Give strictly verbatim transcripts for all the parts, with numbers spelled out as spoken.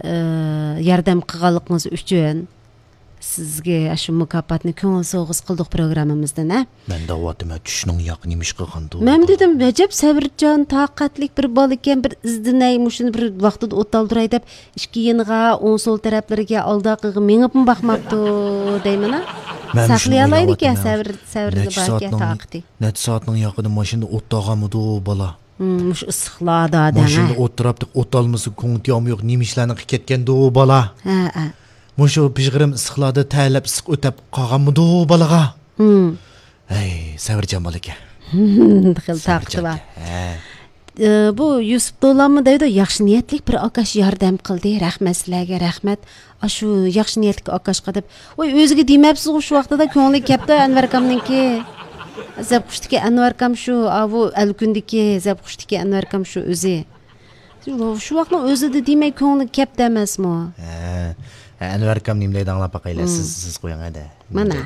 ئى، ياردەم قىلغانلىقىڭىز ئۈچۈن سىزگە شۇ مۇكاپاتنى كۆڭۈل سوۋغىسى قىلدۇق پروگراممىمىزدىن، ھە؟ مەن دەۋاتىمەن، چۈشنىڭ ياقى نېمە ئىش قىلغاندۇ؟ مەن دېدىم، ئەجەب سەۋرچان، تاقەتلىك بىر بالا ئىكەن، بىر ئىزدىنەي، مۇشۇنى بىر ۋاقتىدا ئوتالدۇراي دەپ، ئىككى يېنىغا، ئوڭ سول تەرەپلىرىگە، ئالدى ئارقىغا مېڭىپمۇ باقماپتۇ دەيمەن، ھە؟ مەن مۇشۇنى ساقلىيالايدىكەن، ئويلاۋاتىمەن. سەۋر، سەۋرى نەچچە باركەن، سائەتنىڭ، تاقىتى. نەچچە سائەتنىڭ ياقىدا ماشىنىدا ئوت ئالغانمىدۇ بالا؟ ھىم، مۇشۇ ئىسسىقلاردا دەڭ، ماشىنىدا ھە؟ ئولتۇراپ، ئوت ئالمىسا، كۆڭلى تېگىمۇ يوق، نېمە ئىشلارنى قىلىپ كەتكەندۇ بالا؟ ھە، ھە. مۇشۇ پىژغىرىم ئىسسىقلاردا تەرلەپ ئىسسىق ئۆتەپ قالغانمىدۇ بالىغا؟ ھىم. ھەي، سەۋرچان بالا ئىكەن. خېلى تاقىتى بار. ھە. ئى، بۇ يۈسۈپ دولانمۇ دەيدۇ، ياخشى نىيەتلىك بىر ئاكاش ياردەم قىلدى، رەھمەت سىلەرگە، رەھمەت. ئاشۇ ياخشى نىيەتلىك ئاكاشقا دەپ، ۋاي، ئۆزىگە دېمەپسىزغۇ شۇ ۋاقتىدا، كۆڭلىگە كەپتۇ ئەنۋەر ئاكامنىڭكى. زەپقۇشتىكى ئەنۋەر ئاكام شۇ، ئاۋۇ ئەلكۈندىكى زەپقۇشتىكى ئەنۋەر ئاكام شۇ ئۆزى. شۇ، شۇ ۋاقىتنىڭ ئۆزىدە دېمەي كۆڭلىگە كەپتۇ ئەمەسمۇ؟ ھە، ئەنۋەر ئاكام نېمە دەيدۇ ئاڭلاپ باقايلى، مم. سىز، سىز قويۇڭ ھەدە. مانا.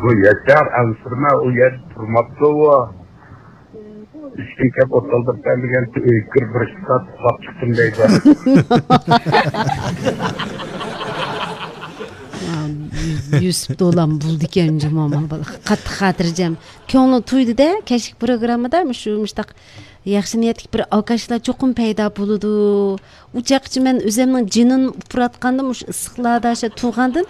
بۇ ياشار ئەنسىرىمە ئۇ يەردە تۇرماپتۇ ئۇ. ئىشتىن كەپ ئوتالدۇرۇپ بەرمىگەن ئۆيگە كىرىپ بىر ئىككى سائەت ئۇخلاپ چىقتىم دەيدۇ. يۈسۈپ دولان بولىدىكەن جۇمۇ، مانا بالا قاتتىق خاتىرجەم. كۆڭلى تويدى-دە، كەچلىك پروگراممىدا مۇشۇ، مۇشۇنداق ياخشى نىيەتلىك بىر ئاكاشلار چوقۇم پەيدا بولىدۇ. ئۇ چاغقىچە مەن ئۆزۈمنىڭ جېنىنى ئۇپراتقاندا، مۇشۇ ئىسسىقلاردا شۇ تۇرغاندىن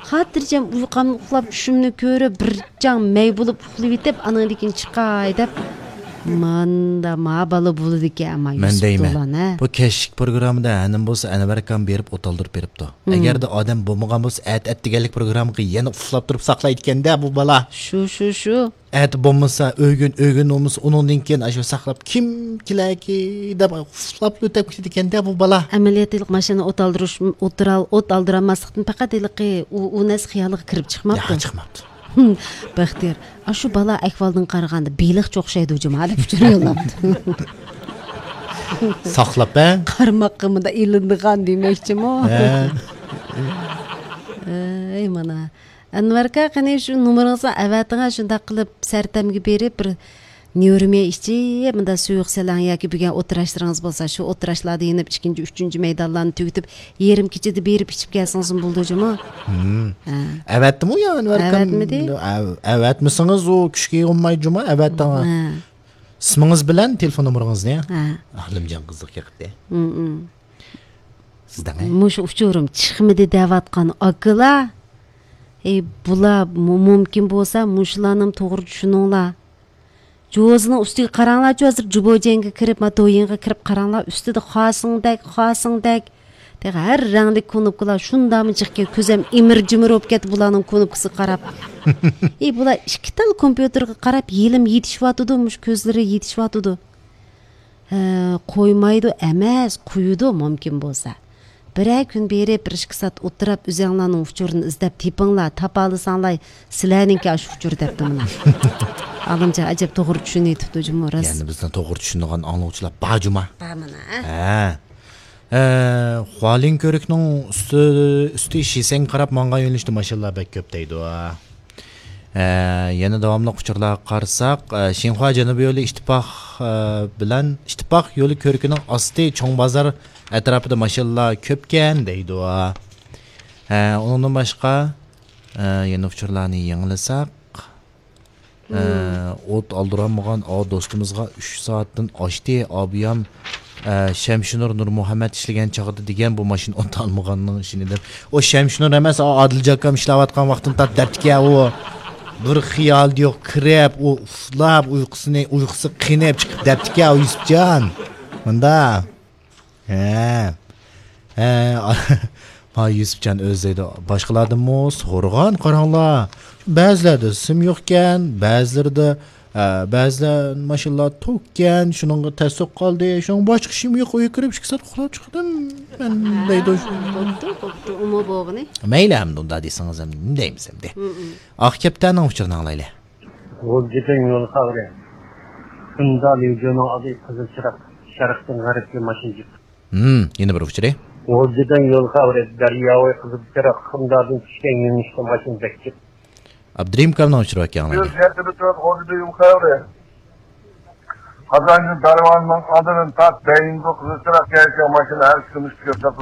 خاتىرجەم ئۇيقۇمنى ئۇخلاپ، چۈشۈمنى كۆرۈپ، بىر جاڭ مەي بولۇپ ئۇخلىۋېتىپ، ئانىڭدىن كېيىن چىقاي دەپ، ماندا ما بالا بولىدىكەن، ئەمما مەن يۈسۈپ دەيمەن، دولان، ھە؟ بۇ كەچلىك پروگراممىدا ھەنىم بولسا ئەنۋەر ئاكام بېرىپ ئوتالدۇرۇپ بېرىپتۇ. مم. ئەگەردە ئادەم بولمىغان بولسا، ئەتە، ئەتىگەنلىك پروگراممىغا يەنە ئۇخلاپ تۇرۇپ ساقلايدىكەن-دە بۇ بالا. شۇ، شۇ، شۇ. ئەتە بولمىسا ئۆگۈن، ئۆگۈن بولمىسا ئۇنىڭدىن كېيىن ئاشۇ ساقلاپ كىم كېلەركى دەپ ئۇخلاپ ئۆتۈپ كېتىدىكەن-دە بۇ بالا. ئەمەلىيەتتە ھېلىقى ماشىنا ئوت ئالدۇرۇش، ئوت ئال-، ئوت ئالدۇرالماسلىقتىن پەقەت ھېلىقى ئۇ، ئۇ نەرسە خىيالىغا كىرىپ چىقماپتۇ. ياق، چىقماپتۇ. بەختىيار، ئاشۇ بالا ئەھۋالدىن قارىغاندا بېلىقچە ئوخشايدۇ جۇما دەپ ئۇچۇر يوللاپتۇ. ساقلاپ، ھە؟ قارماققا مۇنداق ئىلىنىدىغان دېمەكچىمۇ؟ ھە. ئەي، مانا. ئەنۋەركا، قېنى شۇ نومۇرىڭىزنى ئەۋەتىڭە، شۇنداق قىلىپ سەرتەمگە بېرىپ بىر نيۇرمىيە ئىچىپ، مۇنداق سۇيۇق سېلىڭ ياكى بۈگۈن ئولتۇراشلىرىڭىز بولسا، شۇ ئولتۇراشلاردا يېنىپ ئىككىنچى، ئۈچىنچى مەيدانلارنى تۈگىتىپ، يېرىم كېچىدە بېرىپ ئىچىپ كەلسىڭىزمۇ بولىدۇ جۇمۇ. ھىم. ھە. ئەۋەتتىمۇ يا ئەنۋەركام؟ ئەۋەتمىدى. ئەۋ-، ئەۋەتمىسىڭىز ئۇ كۈچكە يىغماي جۇمۇ، ئەۋەتتىڭ. ھە. ئىسمىڭىز بىلەن تېلېفون نومۇرىڭىزنى. ھە. ئالىمجان قىزىق يېقىپتى. ھىم، ھىم. سىزدىڭ، ھە؟ مۇشۇ ئۇچۇرۇم چىقمىدى دەۋاتقان ئاكىلار. ئەي، بۇلار مۇ-، مۇمكىن بولسا مۇشۇلارنىمۇ توغرا چۈشىنىڭلار. جوزىنىڭ ئۈستىگە قاراڭلارچۇ، ھازىر جۇبوجيەنگە كىرىپ، ما دويىنغا كىرىپ قاراڭلار، ئۈستىدە خاسىڭدەك، خاسىڭدەك. تېخى ھەر رەڭلىك كۇنۇپكىلار شۇنداقمۇ جىقكەن، كۆزۈم ئىمىر-جىمىر بولۇپ كەتتى بۇلارنىڭ كۇنۇپكىسىغا قاراپ. ئى، بۇلار ئىككى تال كومپيۇتېرغا قاراپ ھېلىمۇ يېتىشىۋاتىدۇ، مۇشۇ كۆزلىرى يېتىشىۋاتىدۇ. ھە، قويمايدۇ ئەمەس، قويىدۇ مۇمكىن بولسا. بىرەر كۈن بېرىپ، بىر ئىككى سائەت ئولتۇراپ، ئۆزۈڭلارنىڭ ئۇچۇرىنى ئىزدەپ تېپىڭلار، تاپالىساڭلار، سىلەرنىڭكى ئاشۇ ئۇچۇر دەپتۇ مانا. ئالىمجان ئەجەب توغرا چۈشىنىۋېتىپتۇ جۇمۇ، راست. يەنە بىزنى توغرا چۈشىنىدىغان ئاڭلىغۇچىلار بار جۇما. بار مانا، ھە؟ ھە. ئە، خۇالىن كۆۋرۈكنىڭ ئۈستى، ئۈستى شىسەنگە قاراپ ماڭغان يۆنىلىشتە ماشىنىلار بەك كۆپ دەيدۇ. ئە، يەنە داۋاملىق ئۇچۇرلارغا قارىساق، ئە، شىنخۇا جەنۇبىي يولى ئىتتىپاق، ئە، بىلەن ئىتتىپاق يولى كۆۋرۈكىنىڭ ئاستى چوڭ بازار ئەتراپىدا ماشىنىلار كۆپكەن دەيدۇ. ئە، ئۇنىڭدىن باشقا، ئە، يەنە ئۇچۇرلارنى يېڭىلىساق، ئە، ئوت ئالدۇرالمىغان ئاۋۇ دوستىمىزغا ئۈچ سائەتتىن ئاشتى، ئابىيام، ئە، شەمشىنۇر نۇرمۇھەممەت ئىشلىگەن چاغدا دېگەن بۇ ماشىنا ئوت ئالمىغاننىڭ ئىشىنى دەپ. ئۇ شەمشىنۇر ئەمەس، ئا-، ئادىلجان ئاكام ئىشلەۋاتقان ۋاقتىنى تارتىپ دەپتىكەن ئۇ. بىر خىيالى يوق، كىرىپ، ئۇ ئۇخلاپ، ئۇيقۇسىنى، ئۇيقۇسى قېنىپ چىقىپ دەپتىكەن ئۇ يۈسۈپجان. مۇندا. ھە. ھە. ما يۈسۈپجان ئۆزى دەيدۇ. باشقىلاردىنمۇ سورىغان قاراڭلار. بەزىلەردە سىم يوقكەن، بەزىلىرىدە، ئە، بەزىلەر ماشىنىلار توككەن، شۇنىڭغا تەستۇق قالدى. شۇنىڭ باشقا ئىشىم يوق، ئۆيگە كىرىپ ئىككى سائەت ئۇخلاپ چىقتىم مەن دەيدۇ. بوپتۇ، بوپتۇ، ئۇمۇ بولغىنى. مەيلى، ئەمدى ئۇنداق دېسىڭىز، ئەمدى نېمە دەيمىز ئەمدى؟ ئاق كەپتەرنىڭ ئۇچۇرىنى ئاڭلايلى. غۇلجىدىن يول خەۋىرى. خىمدا ليۇجيۇنىڭ ئالدى قىزىل چىراغ، شەرقتىن غەربكە ماشىنا جىق. ھىم، يەنە بىر ئۇچۇرى. غۇلجىدىن يول خەۋىرى. دەرياۋاي قىزىل چىراغ، خىمدادىن چۈشكەن يۆنىلىشتە ماشىنا بەك جىق. ئابدۇرېھىم ئاكامنىڭ ئۇچۇرى بار ئىكەن، ئاڭلايلى. يۈز يەتتە بىر تۆت غۇلجىدا يول خەۋىرى. قازانچى دەرۋازىنىڭ ئالدىدىن تارت بەيىنگە قىزىل چىراغ كەلگەن ماشىنا ھەر كۈنى ئۈستىگە